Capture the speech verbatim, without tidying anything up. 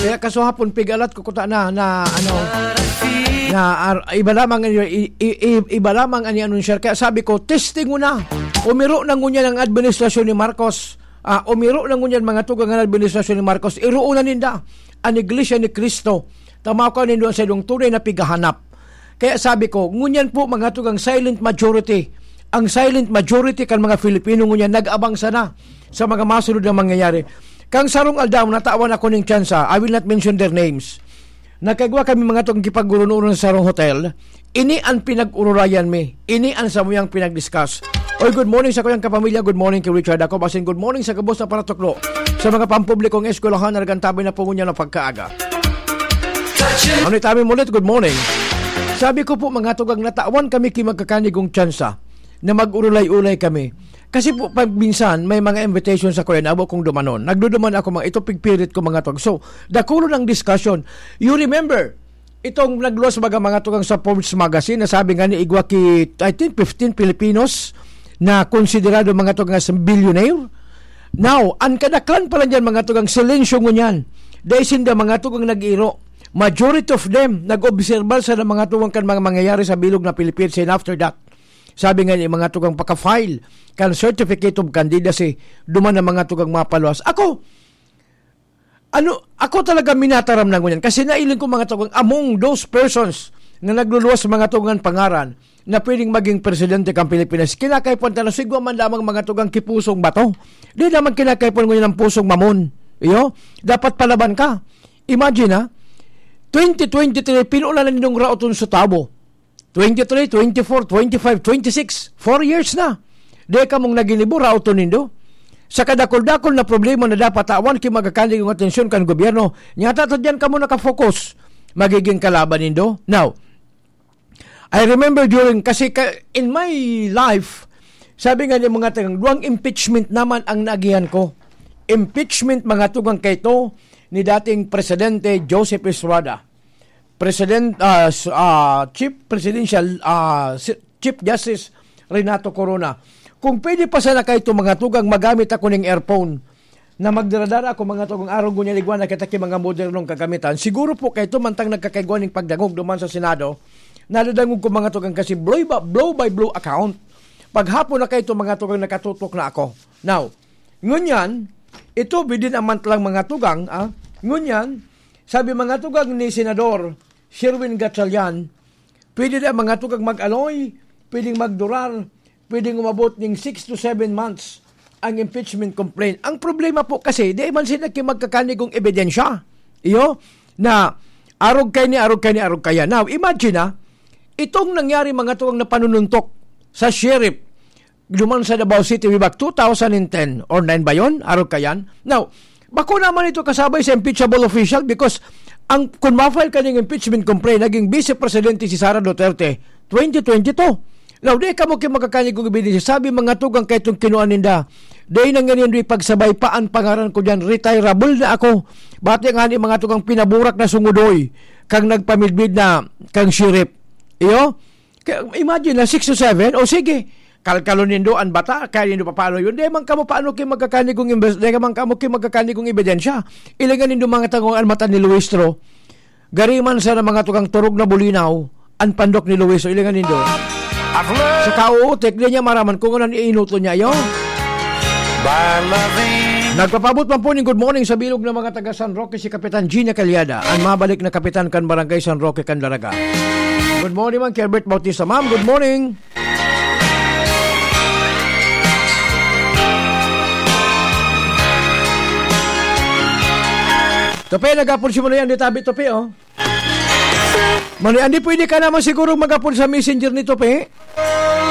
Kaya kaso hapon, pigalat ko kuta na, na, ano, na, ar-, iba lamang an i-, i-, i-, iba lamang an i-anunsiyar. Kaya sabi ko, "Testing mo na. Umiro na ngunyan ang administrasyon ni Marcos. Ah, umiro na ngunyan, mga tugang, an administrasyon ni Marcos. Iroon na ninda an Iglesia ni Cristo. Tamaw ka nindo an saindong tunay na pighahanap." Kaya sabi ko, ngunyan po, mga tugang, silent majority. Ang silent majority kan mga Filipino ngunyan nag-abang sana sa mga masunod na mangyayari. Kang sarong aldaw, natawan ako ning tsansa, I will not mention their names. Nagkagwa kami, mga tugang, kipag-uron-uron sa sarong hotel. Ini an pinag-ururayan mi. Ini an samuyang pinag-discuss. Oy, good morning sa kuyang kapamilya. Good morning kay Richard. Ako, basin good morning sa gabos na paratuklo sa mga pampublikong eskwelahan na nagantabay na po ngunyan na pagkaaga. Ano itamin mo ulit? Good morning. Sabi ko po, mga tugang, natawan kami ki magkakanigong tsansa na mag-urulay-ulay kami. Kasi po, pag minsan, may mga invitation sa kuya na abo kong dumanon. Nagduduman ako, mga ito, pigpirit ko, mga tugang. So, dakulon ang discussion. You remember, itong nagluwas, mga, mga tugang, sa Forbes magazine, na sabi nga ni igwa ki, I think, fifteen Filipinos na konsiderado, mga tugang, sa billionaire. Now, ang kadaklan pala niyan, mga tugang, silensyo ngunyan. Dahil sinda, mga tugang, nag-iro. Majority of them, nag-obserbar sa mga tugang kan mga mangyayari sa bilog na Pilipinas. And after that, sabi nga ni mga tugang, paka-file kan certificate of candidacy, duman na, mga tugang, mapaluwas. Ako, ano, ako talaga minataram na ngunyan. Kasi nailing ko, mga tugang, among those persons na nagluluwas, mga tugang, pangaran na pwedeng maging presidente kan Pilipinas, kinakaipuhan ta na sigwa man lamang, mga tugang, ki pusong bato. Di naman kinakaipuhan ngunyan ang pusong mamon. Iyo, dapat palaban ka. Imagine, ha? Twenty twenty-three, pinulan na nindong raoton sa tabo. Twenty-three, twenty-four, twenty-five, twenty-six. Four years na. Di ka mong naginibo, raoton nindo. Sa kadakul-dakul na problema na dapat tawan ki magkakanigong atensyon kan gobyerno, nyata ta diyan kamo nakafocus. Magiging kalaban nindo. Now, I remember during, kasi ka, in my life, sabi nga ni mga tagang, duwang impeachment naman ang naagihan ko. Impeachment, mga tugang, kaito ni dating Presidente Joseph Estrada. President, ah, s-, ah, Chief Presidential, ah, si-, Chief Justice Renato Corona. Kung pwede pa sana kaito, mga tugang, magamit ako ning earphone na magdara-dara ako, mga tugang, arog ngunyan igwa na kita ki mga modernong kagamitan. Siguro po kaito mantang nagkakaigwa ning pagdangog duman sa Senado, nadadangog ko, mga tugang, kasi blow by, blow by blow account. Paghapon na kaito, mga tugang, nakatutok na ako. Now, ngunyan, ito, bidin a month lang, mga tugang, ah. Ngunyan, sabi, mga tugang, ni Senador Sherwin Gatchalian, pwede na, mga tugang, mag-aloy, pwedeng magdurar, pwedeng umabot ning six to seven months ang impeachment complaint. Ang problema po kasi, di man sila ki magkakanigong ebidensya. Iyo, na arog kay ni, arog kay ni, arog kaya. Now, imagine, ah, itong nangyari, mga tugang, na panununtok sa sheriff duman sa Davao City way back two thousand and ten or nine ba yun? Arog kayan? Now, bako naman ito kasabay sa impeachable official because ang, kung ma-file kaning impeachment complaint, naging vice presidente si Sara Duterte, twenty twenty-two. Now, di kamo ki magkakanigong ebidensya. Sabi, mga tugang, kaitong kinuan ninda, di na ngayon di pagsabay pa ang pangaran ko dyan. Retirable na ako. Bati nga ni mga tugang pinaburak na sungudoy kang nagpamidbid na kang sheriff. Iyo? Kaya, imagine na, six to seven, o sige, kalkalon nindo an bata, kaya nindo papalo yun. Di man kamo paano ki magkakanigong imbes-, di man kamo ki magkakanigong ebidensya. Ilingan nindo mga tagong an mata ni Luistro. Gari man sana mga tugang turog na bulinaw, an pandok ni Luistro, ilingan nindo. Sa kauutik, di niya maraman kung anong iinuto niya, yo. Nagpapabot man po ning good morning sa bilog ng mga taga San Roque, si Kapitan Gina Calyada, ang mabalik na kapitan kan Barangay San Roque, Candaraga. Good morning, Mang Kelbert Bautista. Ma'am, good morning. Tope, nagapon si Manoy Andy tabi, Tope, oh. Manoy Andy, pwede ka naman siguro magapon sa messenger ni Tope.